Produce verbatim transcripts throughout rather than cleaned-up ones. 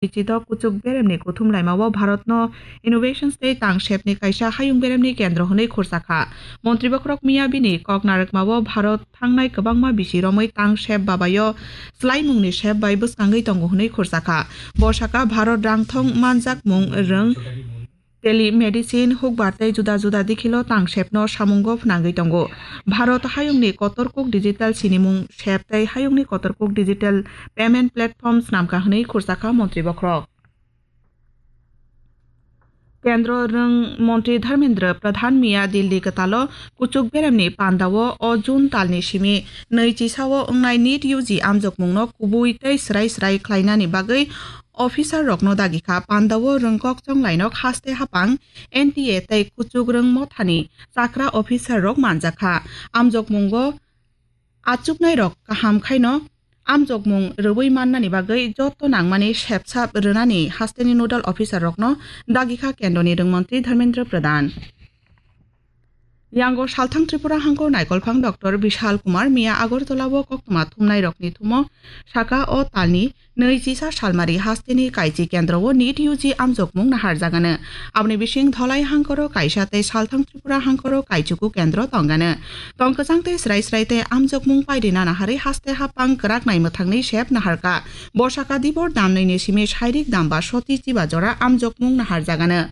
Chidok kuchuk beremni kuthum laimao Bharatno innovations tei tang sepni kaisa hayung beremni kendro hwnwi khursa kha. Montri bokhorok miya bini kok narwkmao Bharat thangnai kwbangma bisi romwi tang sep babayo swlaimungni sep bai bwskangwi tongo hwnwi khursa kha. Bo sakha Bharat rangthong manjakmung rwng, telemedicine, hukbar tei juda juda dikhilo tang sepno samungo phnangwi tongo. Bharat hayungni kotor kuk digital sinimung sep tei hayungni kotor kuk digital payment platform snamkha hwnwi khursa kha montri bokhorok. Kendro rwng montri Dharmendra Pradhan miya Delhi kwtalo kuchuk beremni pandao o June talni simi nwi chisao wngnai NEET U G amjokmungno kubui tei swrai swrai khlainani bagwi officer rokno dagi kha. Pandao rwngkok chonglainok haste hapang N T A tei kuchuk rwng mothani chakra officer rok manjak kha. Amjokmungo achuknai rok kaham khaino amjokmung rwui mannani bagwi joto nangmani sepsap rwnani hasteni nodal officer rokno dagi kha kendroni rwngmontri Dharmendra Pradhan. Yango salthang Tripura hangkor naikolphang Doctor Bishal Kumar miya Agartala o koktwma thumnai rokni thumo saka o talni nwi chisa salmari hasteni kaichi kendro o NEET U G amjokmung naharjagano. Aboni bising Dholai hangkoro kaisa tei salthang Tripura hangkoro kaichuku kendro tongano. Tong kwchang tei srai srai tei amjokmung paidi nana harwi haste hapang kwrak nai mwthangni sep naharka. Bo saka dibor damnwini simi sairik damba soti chiba jora amjokmung naharjagano.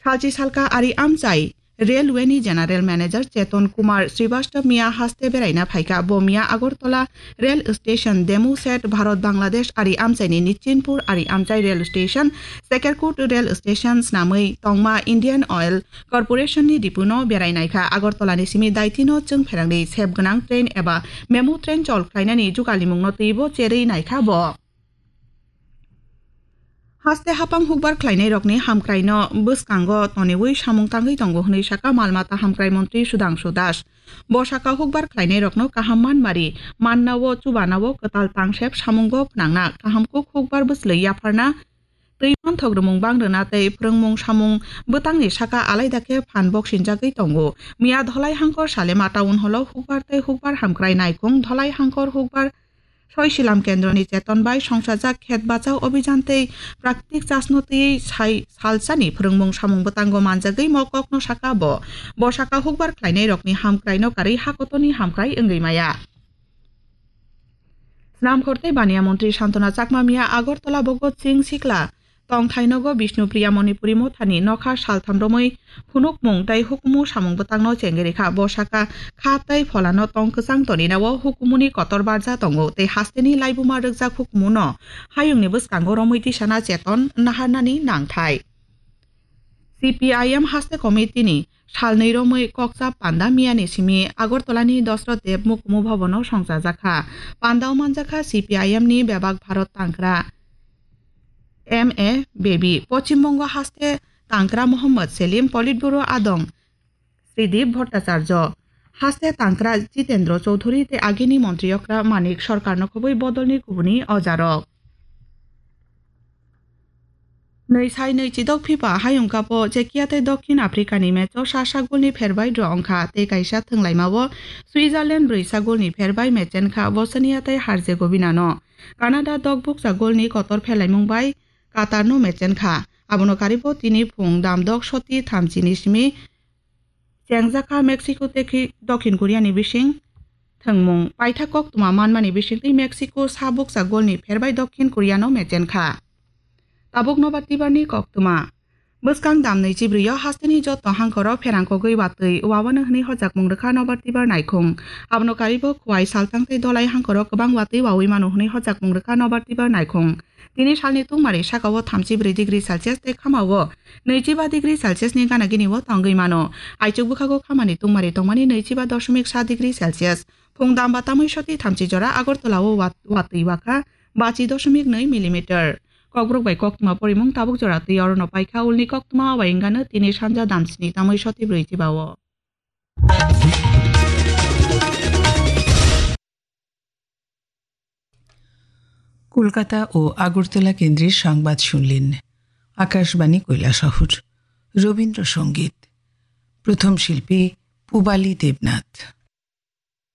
Salchi salka ari amchai Railway ni General Manager Cheton Kumar Srivastava miya haste beraina phaikha. Bo miya Agartala Rail Station, Demu Set, Bharat Bangladesh ari amchai ni Nichinpur ari amchai Rail Station, Sekerkut Rail Station snamwi tongma Indian Oil Corporation ni dipu no berai naikha. Agartala ni simi Daiti no chwng pherangni sep gwnang train eba memo train chol khlainani jugalimung no twibo cherwi naikha bo. Haste hapang hukbar khlainairokni hamkraino bwskango toniwi samung tangwi tongo hwnwi sakha mal mata hamkrai montri Sudhangshu Das. Bo sakha hukbar khlainairokno kaham manmari mannao chubanao kwtal tangsep samungo phnangna, kaham kuk hukbar bwslwi yapharna, twi manthok rwmung bang rwna tei phrwngmung samung bwtangni sakha alaida khe phan boksinjagwi tongo. Miya Dholai hangkor Salema Town Hall o hukbar tei hukbar hamkrai naikhung Dholai hangkor hukbar Soi Silam Kendroni cheton bai songsajak Khet Bachao Abhijan tei Praktik Chasno twi sai salsani phrwngmung samung bwtango manjagwi mo kokno saka bo. Bo saka hukbar khlainairokni hamkraino karwi hakotoni hamkrai wngwi maya. Snamkhor tei Baniya Montri Santona Chakma miya Agartala Bhagat Singh Sikla tongthai nogo Bishnupriya Manipuri mothani nokha saltham romwi phunukmung tei hukumu samung bwtangno chengwi rikha. Bo saka kha tei pholano tong kwchang toninao hukumuni kotor barja tongo tei hasteni laibuma rwkjak hukumuno hayungni bwskango romwi tisana cheton naharnani nangthai. C P I M haste committee ni salnwi romwi kokcha panda miyani simi Agartala ni Dosrot Dev Mukumu Bhavan o songchajakha. Pandao manjakha C P I M ni bebak Bharat tangkra M A Baby, Pochim Bongo haste tangkra Mohammad Selim, Politburo adong Sridip Bhattacharya, haste tangkra Jitendra Chaudhary tei agini montri okra Manik Sarkar no khobwi bodolni kubuni ojarok. Nwi sai nwi chidok FIFA hayung kapo Czechia tei Dokhin Africa ni match o sa sagolni pherbai draw wngkha tei kaisa thwnglaima o Switzerland brwi sagolni pherbai mechenkha Bosnia tei Herzegovina no. Canada dok bukcha golni kotor phelaimung bai Qatar no mechenkha. Abono karibo tini phung dam dok soti thamchi ni simi chengjakha Mexico tei Dokhin Korea ni bising thwngmung paitha koktwma manmani bisingtwi Mexico sa bukcha golni pherbai Dokhin Korea no mechenkha. Tabuk nobar tibar ni koktwma. Bwskang dam nwi chibrwi o hasteni joto hangkoro pherang kogwi watwi wawano hwnwi hojakmung rwkha nobar tibar naikhung. Abono karibo Khowai, Salthang tei Dholai hangkoro kwbang watwi wawi mano hwnwi hojakmung rwkha nobar tibar naikhung. Tini salni tungmari sakao thamchi brwi degree Celsius tei khamao nwichi ba degree Celsius ni gana gini o tongwi mano. Aichuk bwkhago khamani tungmari tongmani nwichi ba doshomik sa degree Celsius. Phung dam ba tamwi soti thamchi jora Agartala o wat-, watwi wakha bachi doshomik nwi millimeter. Kokborok bai koktwma porimung tabuk jora twi orono paikha ulni koktwma o bai wngano tini sanja dam sni tamwi soti brwi chiba o. Kolkata ও আগরতলা কেন্দ্রের সংবাদ শুনলেন। আকাশবাণী কৈলাসহর। রবীন্দ্রসঙ্গীত। প্রথম শিল্পী পুবালী দেবনাথ।